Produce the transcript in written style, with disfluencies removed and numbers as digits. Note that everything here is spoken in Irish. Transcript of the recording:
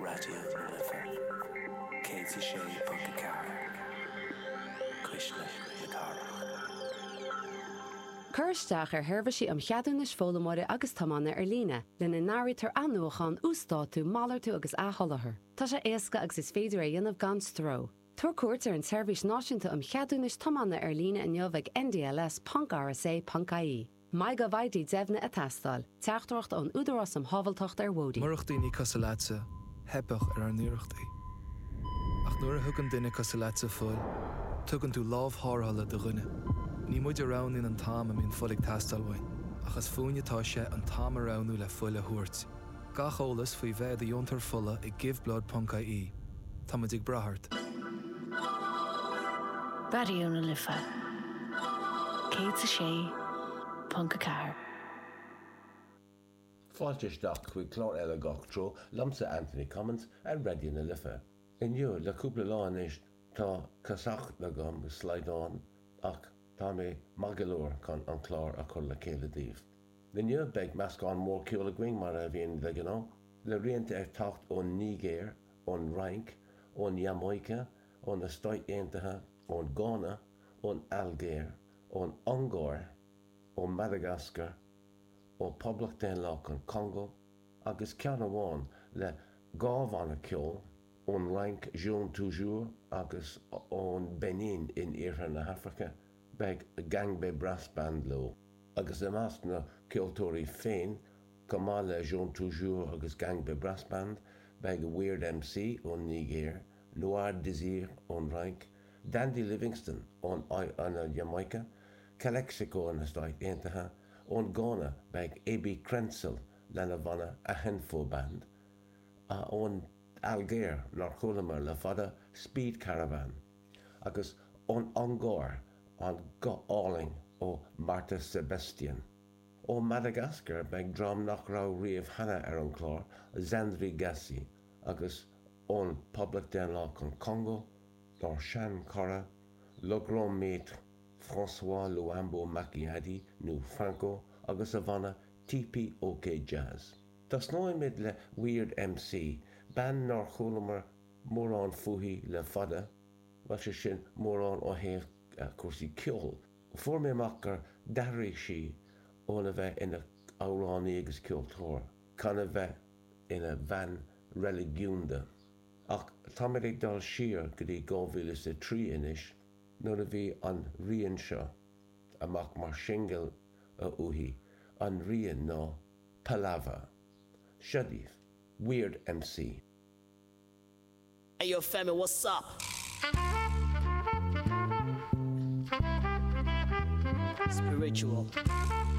Raidió na Life 106.4, Cuisle na Cathrach. Cuir isteach ar sheirbhísí um cheadúnais foghlaimeora agus tiomána ar líne, lena n-áirítear athnuachan, uasdátú, malartú agus athsholáthar. Tá sé éasca agus is féidir é a dhéanamh gan stró. Tabhair cuairt ar an tSeirbhís Náisiúnta um Cheadúnais Tiomána ar líne inniu ag ndls.rsa.ie. MyGovID deimhnithe ag teastáil. Teachtaireacht ón Údarás um Shábháilteacht ar Bhóithre. Murach daoine cosúil leatsa, theipfeadh ar ár n-iarrachtaí. Ach nuair a thugann duine cosúil leatsa fuil, tugann tú lámh tharrthála do dhuine. Ní muid a roghnaíonn an t-am a mbíonn fuil ag teastáil uainn, ach is fúinn atá sé an t-am a roghnú le fuil a thabhairt. Gach eolas faoi bheith i do dheontóir fola ag giveblood.ie. Tá muid ag brath ort. Raidió na Life 106.4. Fáilte isteach chuig clár eile Gach Treo liomsa Anthony Cummins ar Raidió na Life. Inniu, le cúpla lá anois, tá casacht agam, slaghdán, ach tá mé maith go leor chun an clár a chur le chéile daoibh. Inniu beidh meascán mór ceoil againn mar a bhíonn de ghnáth, le rianta ag teacht ón Nigéir, ón Fhrainc, ón Iamáice, ó na Stáit Aontaithe, ón Gána, ón Ailgéir, ón Ungáir, ó Mhadagascar, ó Poblacht Daonlathach an Chongó agus ceann amháin le 2 bhanna ceoil ón Fhrainc, Jaune Toujours, agus ón Beinin in iarthar na hAfraice, beidh Gangbe Brass Band leo. Agus i measc na gceoltóirí féin, chomh maith le Jaune Toujours agus Gangbe Brass Band, beidh Weird MC ón Nigéir, Noir Désir ón Fhrainc, Dandy Livingstone ón Iamáice, Calexico ó na Stáit Aontaithe, ón Gána beidh AB Crentsil lena bhanna Ahenfo Band, ón Ailgéir, nár chualamar le fada, Speed Caravan, agus ón Ungáir, an guth álainn ó Marta Sebestyén. Ó Madagascar beidh dream nach raibh riamh cheana ar an chlár, Zandry Gasy, agus ón Poblacht Daonlathach an Chongó, dár sean-chara, Le Grand Maître François Luambo Makiadi nó Franco agus a bhanna TPOK Jazz. Tosnóimid le Weird MC, bean nár chualamar mórán fúithi le fada, bhuel sé sin mórán ó thaobh cúrsaí ceoil. Fuair mé amach gur d'athraigh sí óna bheith ina amhránaí agus ceoltóir chun a bheith ina bhean reiligiúnda. Ach táimid ag dul siar go dtí 2003 anois nuair a bhí an rian seo amach mar shingil uaithi, an rian ná Palava. Seo daoibh, Weird MC. Hey yo Femi, what's up? Spiritual.